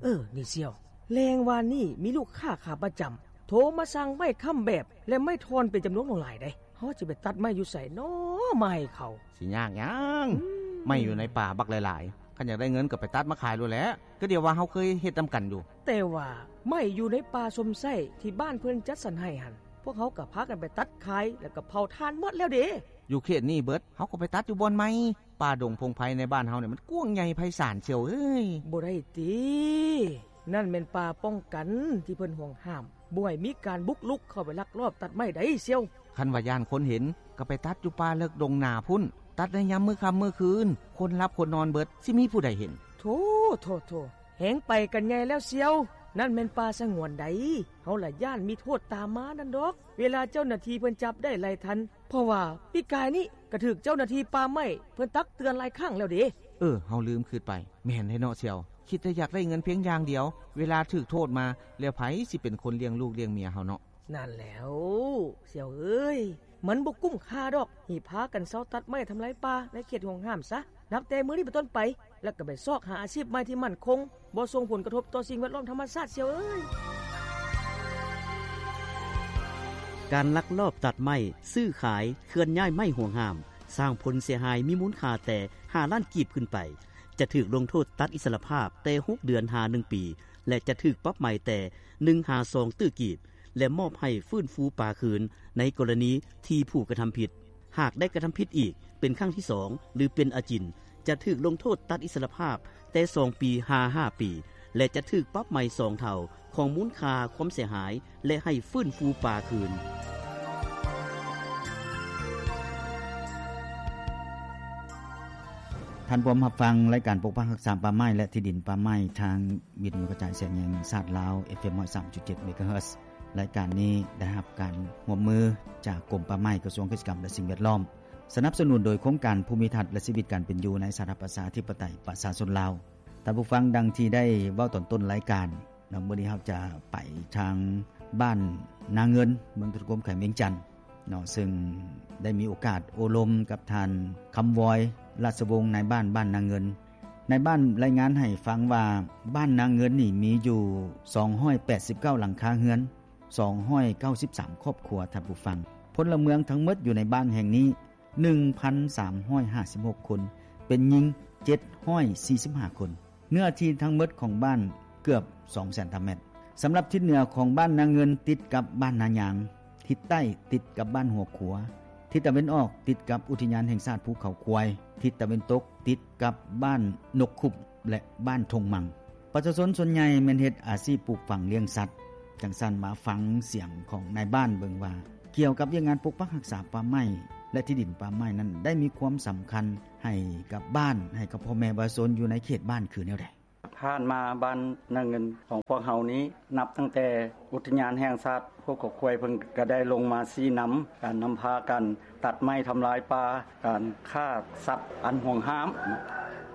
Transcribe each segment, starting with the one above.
ເອີ ນີ້ສ່ຽວ, ແລງວານນີ້ມີລູກຄ້າຂາປະຈຳໂທມາສັ່ງໄມ້ຄ້ຳແບບ ແລະ ໄມ້ທ່ອນເປັນຈຳນວນຫຼວງຫຼາຍເດ້. ເຮົາຈະໄປຕັດໄມ້ຢູ່ໃສນໍ ມາໃຫ້ເຂົາ? ຊິຍາກຫຍັງ? ອືມ ໄມ້ຢູ່ໃນປ່າບັກຫຼາຍໆ, ຄັນຢາກໄດ້ເງິນກໍໄປຕັດມາຂາຍໂລດແຫຼະ. ກໍດຽວວ່າເຮົາເຄີຍເຮັດນຳກັນຢູ່. ແຕ່ວ່າໄມ້ຢູ່ໃນປ່າຊົມໄຊທີ່ບ້ານເພິ່ນຈັດສັນໃຫ້ຫັ້ນ ພວກເຮົາກໍພາກັນໄປຕັດຂາຍ ແລ້ວກໍເຜົາຖ່ານໝົດແລ້ວເດ້. ຢູ່ເຂດນີ້ເບິດ, ເຮົາກໍໄປຕັດຢູ່ບ່ອນໃໝ່. ປ່າດົງພົງໄພໃນບ້ານເຮົານີ້ມັນກວ້າງໃຫຍ່ໄພສານສ່ຽວເອີຍ. ບໍ່ໄດ້ຕິ, ນັ້ນແມ່ນປ່າປ້ອງກັນທີ່ເພິ່ນຫວງຫ້າມ, ບໍ່ໃຫ້ມີການບຸກລຸກເຂົ້າໄປລັກລອບຕັດໄມ້ໃດສ່ຽວ. ຄັນວ່າຢ້ານຄົນເຫັນ, ກໍໄປຕັດຢູ່ປ່າເລິກດົງໜາພຸ້ນ, ຕັດໃນຍາມມື້ຄ່ຳມື້ຄືນ, ຄົນຫຼັບຄົນນອນເບິດ, ຊິມີຜູ້ໃດເຫັນ? ໂທ້, ໂທ້, ໂທ້, ແຮງໄປກັນໃຫຍ່ແລ້ວສ່ຽວ. ນັ້ນແມ່ນປ່າສະຫງວນໃດ, ເຮົາລະຢ້ານມີໂທດຕາມມານັ້ນດອກ, ເວລາເຈົ້າໜ້າທີ່ເພິ່ນຈັບໄດ້ໄລ່ທັນ. ເພາະວ່າປີກາຍນີ້ກໍຖືກເຈົ້າໜ້າທີ່ປ່າໄມ້ເພິ່ນຕັກເຕືອນຫຼາຍຄັ້ງແລ້ວເດ້. ເອີ, ເຮົາລືມຄິດໄປ. ແມ່ນແທ້ເນາະສ່ຽວ, ຄິດແຕ່ຢາກໄດ້ເງິນພຽງຢ່າງດຽວ, ເວລາຖືກໂທດມາແລ້ວ ໃຜຊິເປັນຄົນລ້ຽງລູກລ້ຽງເມຍເຮົາເນາະ? ນັ້ນແຫຼ້ວສ່ຽວເອີຍ, ມັນບໍ່ກຸ້ມຄ່າດອກທີ່ພາກັນເຊົາຕັດໄມ້ທຳລາຍປ່າໃນເຂດຫວງຫ້າມຊະ. ນັບແຕ່ມື້ນີ້ເປັນຕົ້ນໄປ, ແລ້ວກໍໄປຊອກຫາອາຊີບໃໝ່ທີ່ໝັ້ນຄົງ, ບໍ່ສົ່ງຜົນກະທົບຕໍ່ສິ່ງແວດລ້ອມທຳມະຊາດສ່ຽວເອີຍ. ການລັກລອບຕັດໄມ້, ຊື້ຂາຍ, ເຄື່ອນຍ້າຍໄມ້ຫວງຫ້າມ ສ້າງຜົນເສຍຫາຍມີມູນຄ່າແຕ່ຫ້າລ້ານກີບຂຶ້ນໄປ, ຈະຖືກລົງໂທດຕັດອິດສະຫຼະພາບແຕ່ຫົກເດືອນຫາໜຶ່ງປີ ແລະ ຈະຖືກປັບໃໝແຕ່ໜຶ່ງຫາສອງຕື້ກີບ ແລະ ມອບໃຫ້ຟື້ນຟູປ່າຄືນໃນກໍລະນີທີ່ຜູ້ກະທຳຜິດ ຫາກໄດ້ກະທຳຜິດອີກເປັນຄັ້ງທີສອງ ຫຼື ເປັນອາຈິນ, ຈະຖືກລົງໂທດຕັດອິດສະຫຼະພາບແຕ່ສອງປີຫາຫ້າປີ ແລະ ຈະຖືກປັບໃໝສອງເທົ່າຂອງມູນຄ່າຄວາມເສຍຫາຍ ແລະ ໃຫ້ຟື້ນຟູປ່າຄືນ. ທ່ານພວມຮັບຟັງລາຍການປົກປັກຮັກສາປ່າໄມ້ ແລະ ທີ່ດິນປ່າໄມ້ ທາງວິທະຍຸກະຈາຍສຽງແຫ່ງຊາດລາວ ເອັຟເອັມ ຮ້ອຍສາມຈຸດເຈັດ ເມກາເຮີດ. ລາຍການນີ້ໄດ້ຮັບການຮ່ວມມືຈາກກົມປ່າໄມ້, ກະຊວງກະສິກຳ ແລະ ສິ່ງແວດລ້ອມ, ສະໜັບສະໜູນໂດຍໂຄງການພູມິທັດ ແລະ ຊີວິດການເປັນຢູ່ໃນສາທາລະນະລັດ ປະຊາທິປະໄຕ ປະຊາຊົນລາວ. ທ່ານຜູ້ຟັງ, ດັ່ງທີ່ໄດ້ເວົ້າຕອນຕົ້ນລາຍການ, ແລ້ວມື້ນີ້ເຮົາຈະໄປທາງບ້ານນາເງິນ, ເມືອງທຸລະຄົມ, ແຂວງວຽງຈັນເນາະ, ເຊິ່ງໄດ້ມີໂອກາດໂອ້ລົມກັບທ່ານ ຄຳວອຍ ລາຊະວົງ, ນາຍບ້ານບ້ານນາເງິນ. ນາຍບ້ານລາຍງານໃຫ້ຟັງວ່າ ບ້ານນາເງິນນີ້ມີຢູ່ສອງຮ້ອຍແປດສິບເກົ້າຫຼັງຄາເຮືອນ, ສອງຮ້ອຍເກົ້າສິບສາມຄອບຄົວ, ທ່ານຜູ້ຟັງ. ພົນລະເມືອງທັງໝົດຢູ່ໃນບ້ານແຫ່ງນີ້ ໜຶ່ງພັນສາມຮ້ອຍຫ້າສິບຫົກຄົນ, ເປັນຍິງເຈັດຮ້ອຍສີ່ສິບຫ້າຄົນ. ເນື້ອທີ່ທັງໝົດຂອງບ້ານເກືອບສອງແສນຕາແມັດ. ສຳລັບທິດເໜືອຂອງບ້ານນາເງິນ ຕິດກັບບ້ານນາຍາງ, ທິດໃຕ້ຕິດກັບບ້ານຫົວຂົວ, ທິດຕາເວັນອອກຕິດກັບອຸທິຍານແຫ່ງຊາດພູເຂົາຄວາຍ, ທິດຕາເວັນຕົກຕິດກັບບ້ານນົກຂຸບ ແລະ ບ້ານທົ່ງມັງ. ປະຊາຊົນສ່ວນໃຫຍ່ແມ່ນເຮັດອາຊີບປູກຝັງລ້ຽງສັດ. ຈັ່ງຊັ້ນ ມາຟັງສຽງຂອງນາຍບ້ານເບິ່ງວ່າ ກ່ຽວກັບວຽກງານປົກປັກຮັກສາປ່າໄມ້ ແລະ ທີ່ດິນປ່າໄມ້ນັ້ນ ໄດ້ມີຄວາມສຳຄັນໃຫ້ກັບບ້ານ, ໃຫ້ກັບພໍ່ແມ່ປະຊາຊົນຢູ່ໃນເຂດບ້ານຄືແນວໃດ? ຜ່ານມາບ້ານນາເງິນຂອງພວກເຮົານີ້ ນັບຕັ້ງແຕ່ອຸທິຍານແຫ່ງຊາດພູເຂົາຄວາຍ ເພິ່ນກະໄດ້ລົງມາຊີ້ນຳການນຳພາການຕັດໄມ້ທຳລາຍປ່າ, ການຂ້າສັດອັນຫວງຫ້າມ,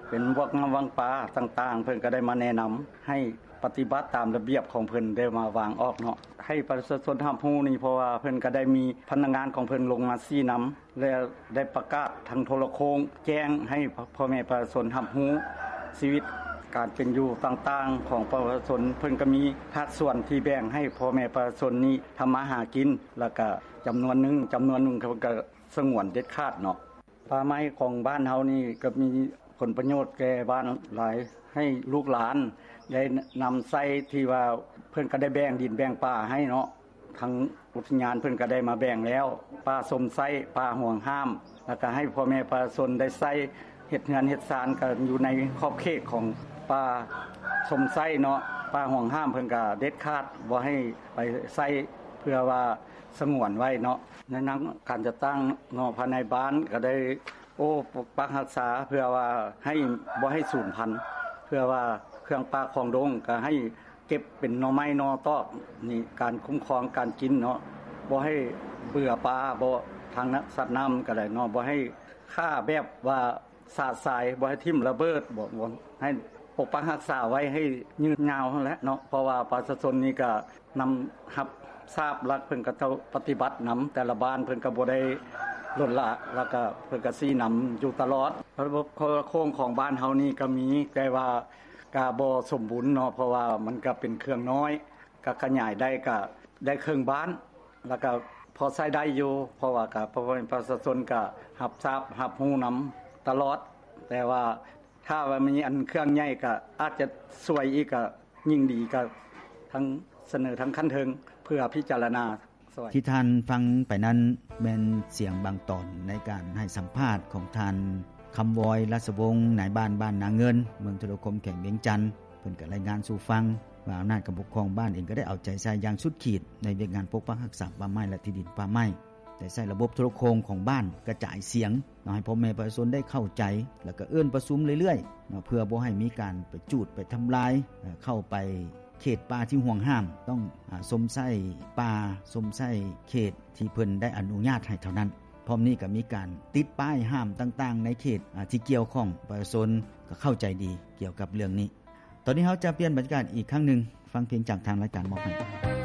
ເປັນພວກນ້ຳວັງປາຕ່າງໆ, ເພິ່ນກະໄດ້ມາແນະນຳໃຫ້ປະຕິບັດຕາມລະບຽບຂອງເພິ່ນໄດ້ມາວາງອອກເນາະ ໃຫ້ປະຊາຊົນຮັບຮູ້ນີ້, ເພາະວ່າເພິ່ນກະໄດ້ມີພະນັກງານຂອງເພິ່ນລົງມາຊີ້ນຳ ແລະ ໄດ້ປະກາດທາງໂທລະໂຄ່ງແຈ້ງໃຫ້ພໍ່ແມ່ປະຊາຊົນຮັບຮູ້ຊີວິດການເປັນຢູ່ຕ່າງໆຂອງປະຊາຊົນ. ເພິ່ນກະມີພາກສ່ວນທີ່ແບ່ງໃຫ້ພໍ່ແມ່ປະຊາຊົນນີ້ທຳມາຫາກິນ ແລ້ວກະຈຳນວນໜຶ່ງ, ຈຳນວນໜຶ່ງເພິ່ນກະສະຫງວນເດັດຂາດເນາະ. ປ່າໄມ້ຂອງບ້ານເຮົານີ້ກະມີຜົນປະໂຫຍດແກ່ບ້ານຫຼາຍ, ໃຫ້ລູກຫຼານໄດ້ນຳໃຊ້ ທີ່ວ່າເພິ່ນກະໄດ້ແບ່ງດິນແບ່ງປ່າໃຫ້ເນາະ. ທາງອຸທິຍານເພິ່ນກະໄດ້ມາແບ່ງແລ້ວ, ປ່າຊົມໄຊ, ປ່າຫວງຫ້າມ, ແລ້ວກະໃຫ້ພໍ່ແມ່ປະຊາຊົນໄດ້ໃຊ້ເຮັດເຮືອນເຮັດຊານ ກະຢູ່ໃນຂອບເຂດຂອງປ່າຊົມໄຊເນາະ. ປ່າຫວງຫ້າມເພິ່ນກະເດັດຂາດບໍ່ໃຫ້ໄປໃຊ້ ເພື່ອວ່າສະຫງວນໄວ້ເນາະ. ໃນນາມການຈັດຕັ້ງເນາະ, ພາຍໃນບ້ານກະໄດ້ ໂອ້ ປົກປັກຮັກສາ ເພື່ອວ່າໃຫ້ ບໍ່ໃຫ້ສູນພັນ, ເພື່ອວ່າເຄື່ອງປ່າຂອງດົງກະໃຫ້ເກັບເປັນໜໍ່ໄມ້ໜໍ່ຕອກ. ນີ້ການຄຸ້ມຄອງການກິນເນາະ, ບໍ່ໃຫ້ເບື່ອປາ, ບໍ່ ທາງນະ ສັດນ້ຳກະໄດ້ເນາະ, ບໍ່ໃຫ້ຂ້າແບບວ່າສະສາຍ, ບໍ່ໃຫ້ຖິ້ມລະເບີດ, ບໍ່ ບໍ່ ໃຫ້ປົກປັກຮັກສາໄວ້ໃຫ້ຍືນຍາວຫັ້ນແຫຼະເນາະ. ເພາະວ່າປະຊາຊົນນີ້ກະ ນຳຮັບຊາບ ແລ້ວເພິ່ນກະເຈົ້າປະຕິບັດນຳ, ແຕ່ລະບ້ານເພິ່ນກະບໍ່ໄດ້ລົດລະ, ແລ້ວກະເພິ່ນກະຊີ້ນຳຢູ່ຕະຫຼອດ. ລະບົບໂທລະໂຄ່ງຂອງບ້ານເຮົານີ້ກະມີ, ແຕ່ວ່າ ກະບໍ່ສົມບູນເນາະ ເພາະວ່າມັນກະເປັນເຄື່ອງນ້ອຍ ກະຂະຫຍາຍໄດ້ກະໄດ້ເຄິ່ງບ້ານ ລະກະພໍໃຊ້ໄດ້ຢູ່ ເພາະວ່າກະພໍ່ແມ່ປະຊາຊົນກະຮັບຊາບຮັບຮູ້ນຳຕະຫຼອດ ແຕ່ວ່າຖ້າວ່າມີອັນເຄື່ອງໃຫຍ່ກະອາດຈະຊ່ວຍອີກ ກະຍິ່ງດີ ກະທັງສະເໜີທາງຂັ້ນເທິງເພື່ອພິຈາລະນາ ທີ່ທ່ານຟັງໄປນັ້ນ ແມ່ນສຽງບາງຕອນໃນການໃຫ້ສຳພາດຂອງທ່ານ ຄຳວອຍ ລາຊະວົງ ນາຍບ້ານບ້ານນາເງິນ ເມືອງທະໂລຄົມ ແຂວງວຽງຈັນ. ເພິ່ນກໍລາຍງານສູ່ຟັງວ່າ ອຳນາດການປົກຄອງບ້ານເອງກໍໄດ້ເອົາໃຈໃສ່ຢ່າງສຸດຂີດ ໃນວຽກງານປົກປັກຮັກສາປ່າໄມ້ ແລະ ທີ່ດິນປ່າໄມ້ ໄດ້ໃຊ້ລະບົບໂທລະໂຂງຂອງບ້ານກະຈາຍສຽງ ເນາະ ໃຫ້ພໍ່ແມ່ປະຊາຊົນໄດ້ເຂົ້າໃຈ ແລ້ວກໍເອີ້ນປະຊຸມເລື້ອຍໆ ເນາະ ເພື່ອບໍ່ໃຫ້ມີການໄປຈູດໄປທຳລາຍ ເຂົ້າໄປເຂດປ່າທີ່ຫວງຫ້າມ ຕ້ອງຊົມໃຊ້ປ່າ ຊົມໃຊ້ເຂດທີ່ເພິ່ນໄດ້ອະນຸຍາດໃຫ້ເທົ່ານັ້ນ. ພ້ອມນີ້ກໍມີການຕິດປ້າຍຫ້າມຕ່າງໆ ໃນເຂດທີ່ກ່ຽວຂ້ອງ ປະຊາຊົນກໍເຂົ້າໃຈດີກ່ຽວກັບເລື່ອງນີ້. ຕອນນີ້ເຮົາຈະປ່ຽນບັນຍາກາດອີກຄັ້ງໜຶ່ງ ຟັງເພງຈາກທາງລາຍການມອບໃຫ້.